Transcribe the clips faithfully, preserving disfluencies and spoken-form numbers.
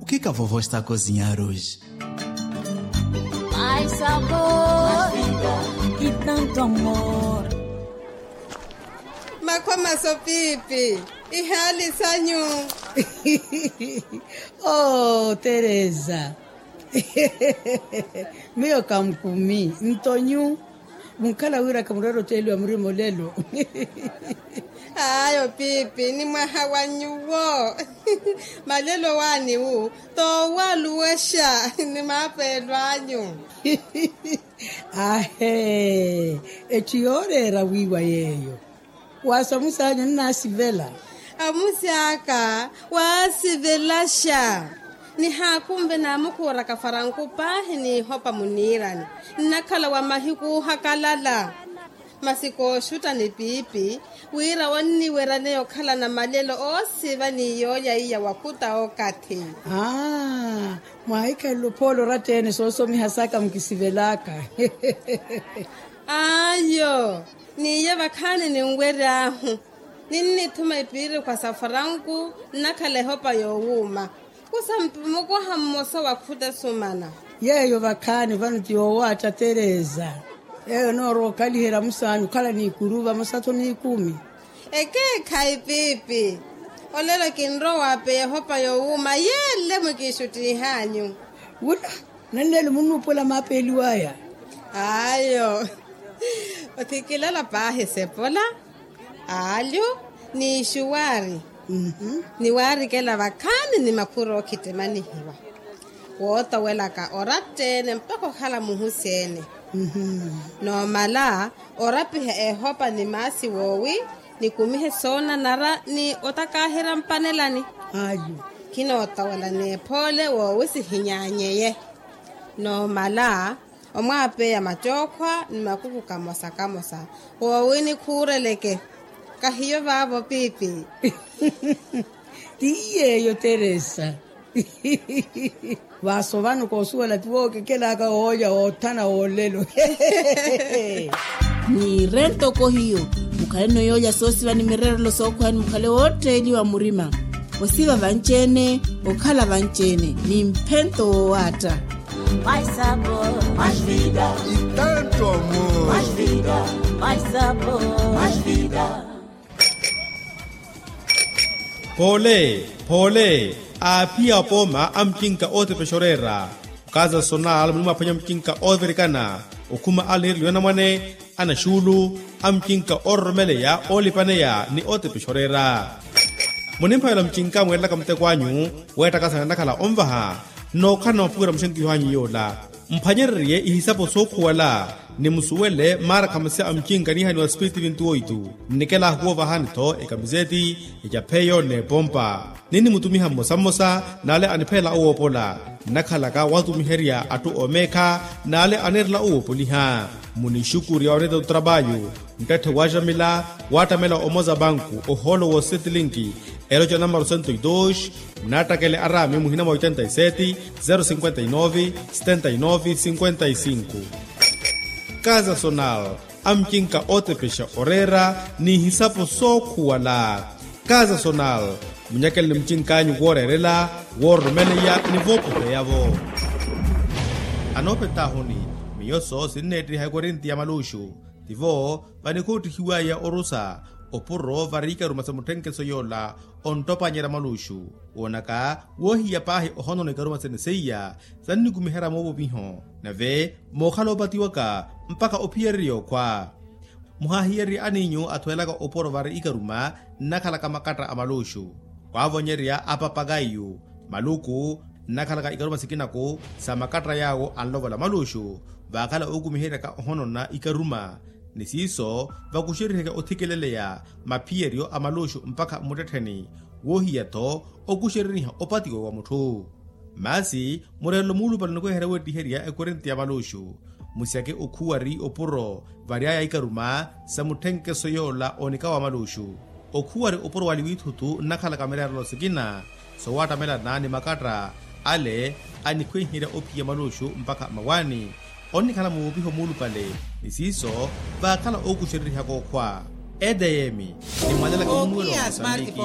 Kika vovo esta kozinha aruji. Ai sabor. Itanto amor. Makhwa maso pipi. Ihali sanyu. Oh teresa. Miyo kamkumi ntonyu. Munkhala wira khamurera oteeliwa murima olelo. Ayo pipi ni mwaha wa nyuwo. Malelo waani wu toowaluwexa ni maapeelo anyu. Ahe. Etthu yooreera wiiwa yeeyo. Waasamusi anyu nnaasivela. Amusi aka waasivelaxa. Nihaakhunve naamukhuuraka faranku paahi n'ihopa muniirani. Nnakhala wa mahiku ohakalala. Masi kooxutta ni piipi wira onniweryaneya okhalana malelo oosiva ni yoolya iya wakhuta okathi. Aa. Mwaahikhalele ophoolo oratta-ene soosomiha saka mukisivelaka. Ayo. N'iye vakhaani ninwery'ahu. Ninnithuma epiirikhwa sa faranku nnakhala ehopa yoowuuma. Kusa mpi mukoha mmosa wa khuta esumana. Yeeyo vakhaani vano ti yoowaatta teresa. Yeeyo enoorowa okhaliherya musaani okhala n'ikuru vamosa-tho n'ikumi. Ekeekhayi piipi. Olelo kinrowa waapeya ehopa yoowuuma yeele mwikiixuttiih'anyu. Wula. Nanneelo munnuupola maapeeliw'aya. Ayo. Othikilala paahi sepola. Aalyu. N'ixuwaari. Niwaarikela vakhaani ni makhuro ookhittimihiwa. Wootowelaka oratta-ene mpakha okhala muhusi-ene. Noomala orapiha ehopa ni maasi woowi nikumihe soonanara ni otakaaherya mpanelani. Ayu. Khinootowela n'ephoole woowi sihinyaanyeye. Noomala omwaapeya mattookhwa ni makuku kamosa kamosa woowi nikhuureleke. Kahiyo vaavo piipi. Ti yeeyo teresa. Vaaso vano koosuwela ti wookekelaka woolya woothana woolelo. Niire ntoko hiyo. Mukhaleno yoolya soosiva ni mireerelo sookhweya ni mukhale wootteeliwa murima. Osiva vanci-ene okhala vanci-ene ni mphento woowaatta. Mai sabor, mai vida. Itanto amor. Mai vida, mai sabor, mai vida. Poole poole. Aaphiya apooma a mucinka ootepexa oreera. Okaza sonal muni mwaphwanya mucinka oovirikana okhuma alinireliwa anamwane, anaxuulu, a mucinka oororomeleya oolipaneya ni ootepexa oreera. Munimphavela mucinka mweerelaka muteko anyu weettakasana nnakhala onvaha. Nnookhalana mapuwira muxenkiho anyu yoola. Mphwanyererye ihisapo sookhuwala ni musuwele maarakhamasi a mucinka niihaniwa spiritu vinti oitu. Nnikela ahuwoovahani-tho ekamiseti, ecapheyo n'epompa. Ninnimutumiha mmosa mmosa n'ale aniphelela owoopola. Nnakhalaka watumiherya atthu oomeekha n'ale anirela owoopoliha. Munixukurya oreeta otrapayu. Nttette waaxamila waattamela omoza banku ohoolo woosettilinki. Eloca namaro sento e dos. Nnaattakele araami muhina mwa oitenta e seti, zero cinquenta e nove, setenta e nove cinquenta e cinco. Kaza sonal, a mucinka ootepexa oreera n'ihisapo sookhuwala. Kaza sonal, munyakeleni mucink'anyu wooreerela, woororomeleya ni voopoheya-vo. Anoopetahuni, miyo soo sinneettiha ekorinti ya maluxu. Tivo vanikhoottihiwaya orusa opuro vari ikaruma sa mutthenkeso yoola. Onttopanyerya maluxu woonaka woohiya paahi ohonono ikaruma sene seiya sannikumiherya moovopiho. Nave mookhala oopatiwaka mpakha ophiyererya okhwa. Muhaahiyererye aniinyu athwelaka opuro vari ikaruma nnakhalaka makatta a maluxu. Waavonyerya apapakaiyu maluku nnakhalaka ikaruma sikinaku sa makatta yaawo anlovola maluxu. Vaakhala ookumiheryaka ohonona ikaruma ni siiso vakuxeriheke othikeleleya maphiyeryo a maluxu mpakha mmuttettheni. Woohiya-tho okuxereriha opatiwa wa mutthu. Masi mureerelo muulupale nikweherya weettiherya ekorinti ya maluxu. Musyake okhuwari opuro vary'aya ikaruma sa mutthenkeso yoola onika wa maluxu. Okhuwari opuro wali wiithutu nnakhalaka mireerelo sikina sowaattamelana ni makatta ale anikhwenherya ophiya maluxu mpakha mawaani. Onnikhala muupiho muulupale ni siiso vaakhala ookuxererihaka okhwa. Edm. Nimwanelaka mumuwelo wa mosambiki.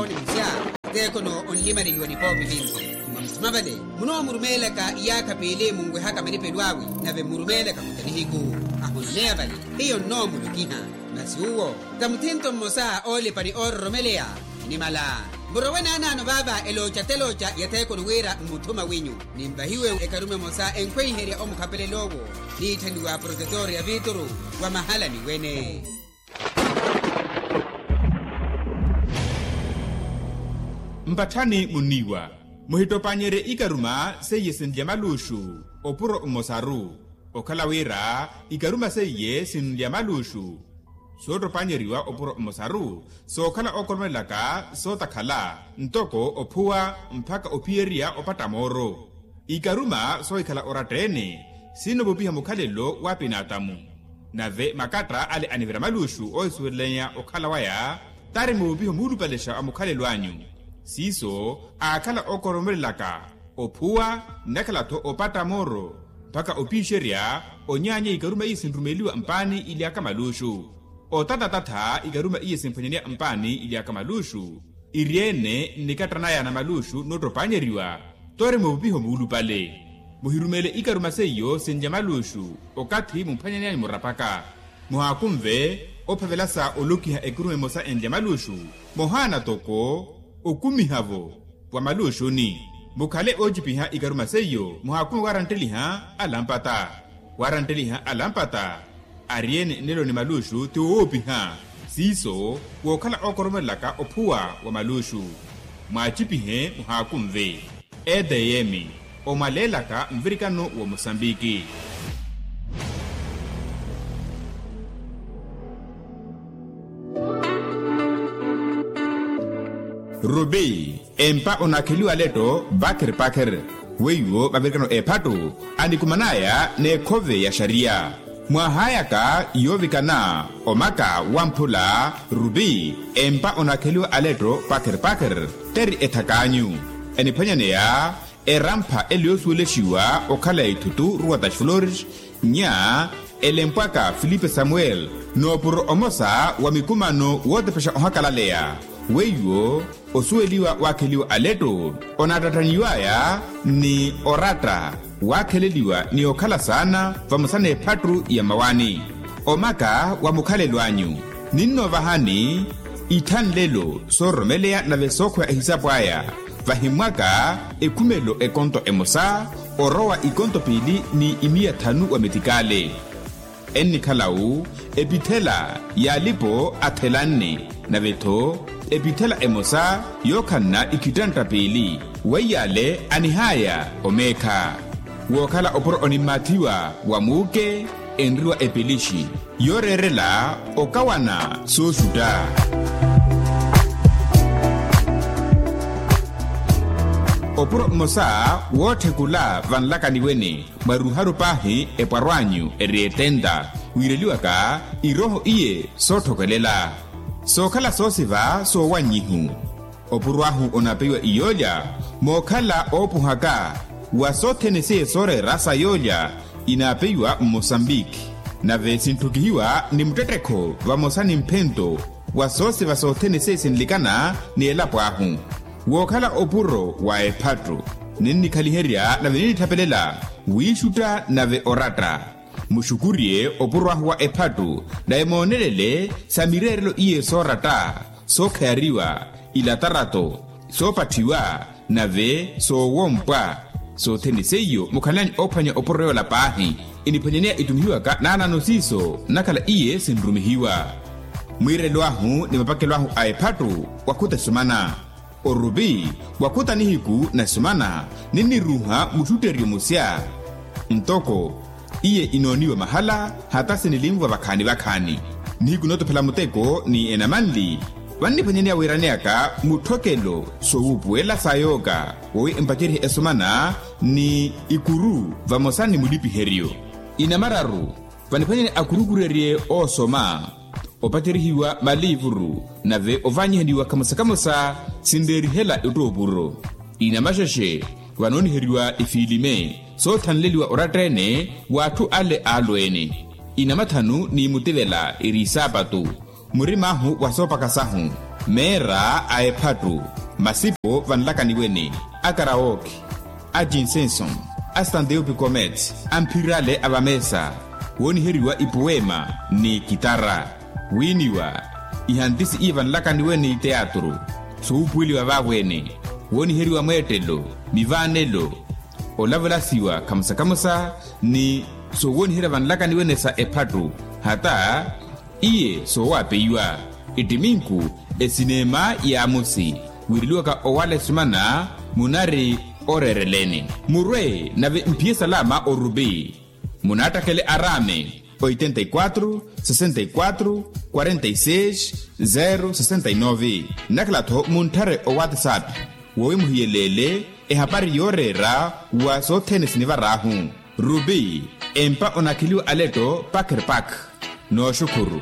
Teekono onlimaneliwa ni poopi vinci. Mavale munoomurumeelaka iyaakha piili munwehaka malipelo awe, nave mmurumeelaka muta nihiku. Ahuneya vale hiyo nnoomulokiha. Masi uwo ta muthinto mmosa oolipa ni oororomeleya. Nimala murowe naanaano vaava elooca telooca ya theekoni wira mmuthuma winyu. Ninvahiwe ekaruma emosa enkhweiherya omukhapelel'owo niitthaniwa protetor ya vituru wa mahalani wene. Mpatthani munniiwa muhittopannyerye ikaruma seiye sinlya maluuxu. Opuro mmosaru okhala wira ikaruma seiye sinlya maluuxu. Soottopanyeriwa opuro mmosaru sookhala ookoromelaka sootakhala ntoko ophuwa mpakha ophiyerya opatta mooro. Ikaruma soohikhala oratta-ene sinoovupiha mukhalelo wa apinaatamu. Nave makatta ale anivira maluuxu oohisuwelelanya okhala waya tari moovupiha omuulupalexa wa mukhalelo anyu. Siiso aakhala ookoromelelaka ophuwa nnakhala-tho opatta mooro mpakha opiixerya onyaanya ikaruma iye sinrumeliwa mpaani ilyaka maluuxu. Otatatata ikaruma iye sinphwanyaneya mpaani ilyaka maluuxu. Iri-ene nnikatta naya na maluuxu noottopanyeriwa. Tore moovupiha omuulupale muhirumeele ikaruma seiyo sinlya maluuxu okathi mumphwanyaneyanyu murapaka. Muhaakunve ophavela sa olokiha ekaruma emosa enlya maluuxu. Mohaana toko okumiha-vo wa maluuxuni. Mukhale oochipiha ikaruma seiyo muhaakunve waarantteliha alampata. Waarantteliha alampata ari-ene nnelo ni maluuxu ti woowopiha. Siiso wookhala ookoromelelaka ophuwa wa maluuxu. Mwaachipihe muhaakunve. Etm omwaleelaka nvirikano wa mosambiki. Rubi empa onaakheliwa aletto pakher pakher. Weiwo mavirikano eephattu anikuman'aya n'ekhove ya xariya. Mwahaayaka yoovikana omaka wamphula rubi empa onaakheliwa aletto pakher pakher. Teri ethak'anyu eniphwanyaneya erampha ele yoosuwelexiwa okhala ya ithutu ruwa ta xiflores. Nya elempwaka filipe samuel noopuro omosa wa mikumano wootepexa ohakalaleya. Weiwo osuweliwa waakheliwa aletto onaattattaniw'aya ni oratta waakheleliwa ni okhala saana vamosa n'ephattu ya mmawaani. Omaka wa mukhalelo anyu ninnoovahani ithanlelo soororomeleya nave sookhweya ehisapu aya. Vahimmwaka ekhumelo ekonto emosa orowa ikonto piili ni imiya thanu wa metikale. Ennikhala-wu epithela y'alipo athelanne nave-tho epithela emosa yookhanna ikhittantta piili. Weiyaale anihaya omeekha wookhala opuro onimmaathiwa wa muuke enriwa epelixi yooreerela okawana sooxutta. Opuro mmosa wootthekula vanlakani wene mwaruharu paahi epwaro anyu eri etenta wiireliwaka irooho iye sootthokelela sookhala soosiva soowannyihu. Opuro ahu onaapeyiwa iyoolya mookhala oopuhaka wa sothene seiye sooreera sa yoolya inaapeyiwa mmosambiki. Nave sintthukihiwa ni muttettekho vamosa ni mphento wa soosiva sothene seiye sinlikana ni elapo ahu. Wookhala opuro wa ephattu ninnikhaliherya nave ninnithapelela wiixutta nave oratta. Muxukuriye opuro ahu wa ephattu nave moonelele sa mireerelo iye sooratta sookheyariwa ilatarato soopatthiwa nave soowompwa. Sothene seiyo mukhalani oophwanya opuro yoola paahi iniphwanyaneya itumihiwaka naanaano siiso nnakhala iye sinrumihiwa. Mwiirelo ahu ni mapakelo ahu a ephattu wakhuta esumana orupi wakhuta nihiku na esumana ninniruuha muxutteryo musya. Ntoko iye inooniwa mahala hata sinilinvwa vakhaani vakhaani nihiku nootophela muteko ni enamanli. Vanniphwanyaneya wiiraneyaka mutthokelo soowuupuwela sa yooka wowi empacerye esumana ni ikuru vamosa ni mulipiheryo inamararu. Vaniphwanyani akurukurerye oosoma opaterihiwa maliivuru nave ovanyihaniwa kamosa kamosa sinreerihela ettoopuro inamaxexe vanooniheriwa ifiilime soothanleliwa oratta-ene w'atthu ale aalweene inamathanu ni mutivela eri isaapatu murim'ahu wa soopaka sahu meera a ephattu masipo vanlakaniwene akarawookhi A jinsenson, a standeupi comets, a mphirale a vameesa, wooniheriwa ipuwema ni kitara, wiiniwa ihantisi iye vanlakaniwe ni teatru, suupuweliwa vaavo-ene, wooniheriwa mweettelo, mivaanelo, olavelasiwa khamusa-khamusa, ni soowooniherya vanlakaniwe-ene sa ephattu, hata iye soowapeiwa. Ittiminku, esineema yaamusi, wiireliwaka owaala esumana, munari oreereleni. Murwe nave mphiye salama orupi, munaattakele araame, oitenta e quatru, sessenta e quatru, quarenta e seis, zero sessenta e nove. Nnakhala-tho muntthare owatsapp, wowi muhiyeleele ehapari yooreera wa sothene sinivar'ahu. Rupi, empa onakheliwa aletto pakherpak. Nooxukhuru.